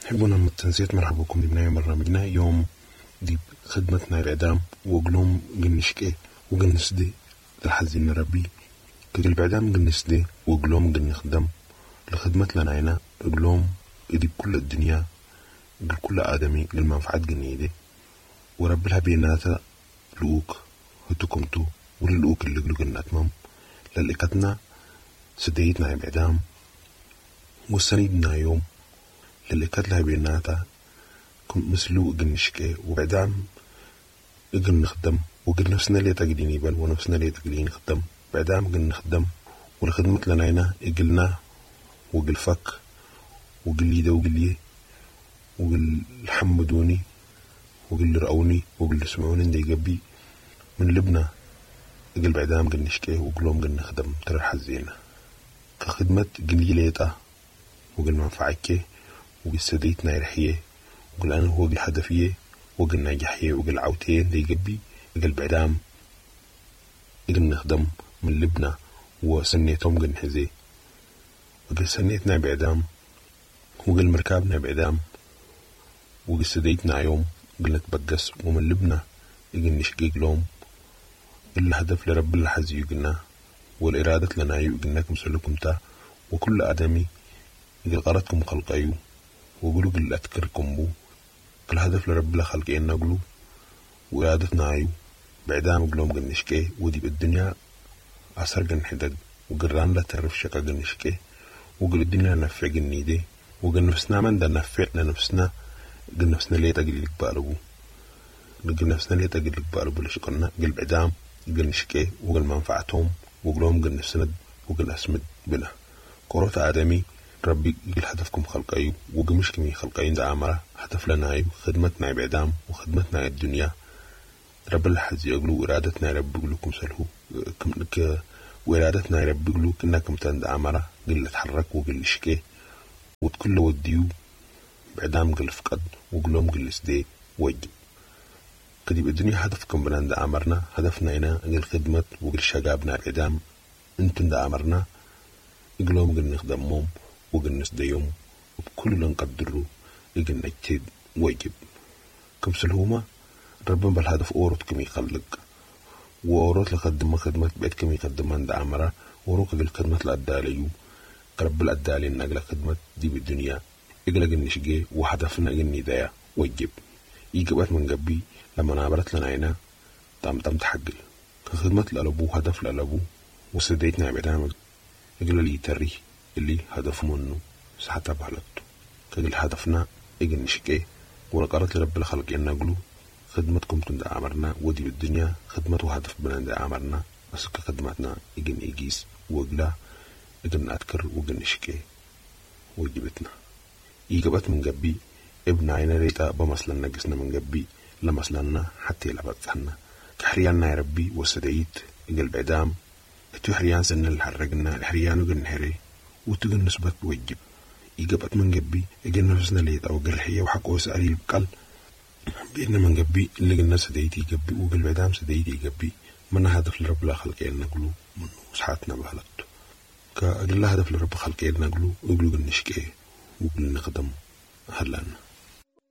حبونا متنسيت مرحبا بكم دي برنامجنا يوم دي خدمتنا الإعدام وقلوم قنشكي وقنسدي الحزين ربي. كل بعدام قنسدي وقلوم قنخدم لخدمة لنا قلوم دي بكل الدنيا قل كل آدمي للمنفعة قنيدي ورب لها بيناتا لؤوك هتكمتو وللؤوك اللي قلو قناتمم للإكتنا سديتنا بعدام وسندنا يوم للإكت لها بيناتا مثلو قنشكي وبعدام قل نخدم وقل نفسنا لي تقديني بل ونفسنا لي تقديني نخدم. بعدام قل نخدم ولخدمة لنا قلنا وقل فك وقل لي ده وقل لي وقل حمدوني وقل رأوني وقل سمعوني اندي قبي من لبنا. قل بعدام قل نشكي وقلوم قل نخدم ترى حزينة كخدمة قل لي ليتا وقل منفعك وقل سديتنا يرحيه وقل أنا هو قل هدفية وقل ناجحية وقل عوتين دي قبي. قل بعدام قل نخدم من لبنا وسنيتهم قل نحزي وقل سنيتنا بعدام وقل مركابنا بعدام وقل سديتنا يوم قل نتبقس ومن لبنا قل نشقيق لهم. الهدف لرب الحزي يقلنا والإرادة لنا يقلنا كم تا وكل آدمي قل قرتكم خلقيو وقلوا قل أتكركم بو. كل هدف لرب الخلقين نقلو وإرادتنا عيو بعدام قلوم قل نشكي ودي بالدنيا أثر قل نحدد وقران لا تعرف شكا قل نشكي وقل الدنيا نفع قل نيدي وقل نفسنا من دا نفع لنفسنا قل نفسنا ليه تقل لك بقلبو قل نفسنا ليه تقل لك بقلبو لشكرنا قل بعدام قل نشكي وقل منفعتهم وقلهم قل نفسنا وقل أسمد بلا كروت آدمي ربي قل هدفكم خلقايو وقمش كمي خلقايو دا أمره هدف لنا أيو خدمتنا بعدام وخدمتنا الدنيا رب الحز يقولوا إرادتنا رب يقولكم سلهو وإرادتنا رب يقولوا كنكم تند أمره قل تحرك وقل شكي وتكل وديو بعدام قل فقد وقلهم قل سدي وجب كدي الدنيا هدفكم بنا دا أمرنا هدفنا هنا قل خدمة وقل شقابنا بعدام انتم دا أمرنا قلهم قل نخدمهم وقل نسديهم وبكل اللي نقدره قل نجتهد واجب كم سلهوما ربنا بالهدف أورط كم يخلق وأورط لخدمة خدمة بيت كم يخدم عند أمره وروك قل خدمة الأداليو رب الأدالي نقل خدمة دي بالدنيا إقلق النشجي وهدفنا قل ندايا واجب يجبت من قبي لما نابرت لنا عينا تام تام تحقل خدمة الألبو هدف الألبو وسديتنا بعدام إقل لي تري اللي هدف منه سحتها بحلقته كقل هدفنا إقل نشكي ولقرت لرب الخلق ينقلو خدمتكم تند أمرنا ودي بالدنيا خدمة وهدف بنا أمرنا بس كخدمتنا إجن إجيس وقلا إجن أذكر وإجن نشكي وجبتنا إجابات من جبي ابن عينا ريتا بمثلنا جسنا من جبي لمثلنا حتى لبتنا كحريانا يا ربي وسديت إجل بعدام تو حريان سنة اللي حرقنا الحريان وجن حري وتجن نسبة وجب إجابات من جبي إجن نفسنا ليت أو جرحية وحكوا سأري بقل بإن من جبي اللي قلنا سديتي جبي وقل بعدام سديتي جبي من هدف لرب لا خلقين نقلو من وسحاتنا بهلته كأجل هدف لرب خلقين نقلو وقلو قلنشكي وقل نخدم هلنا.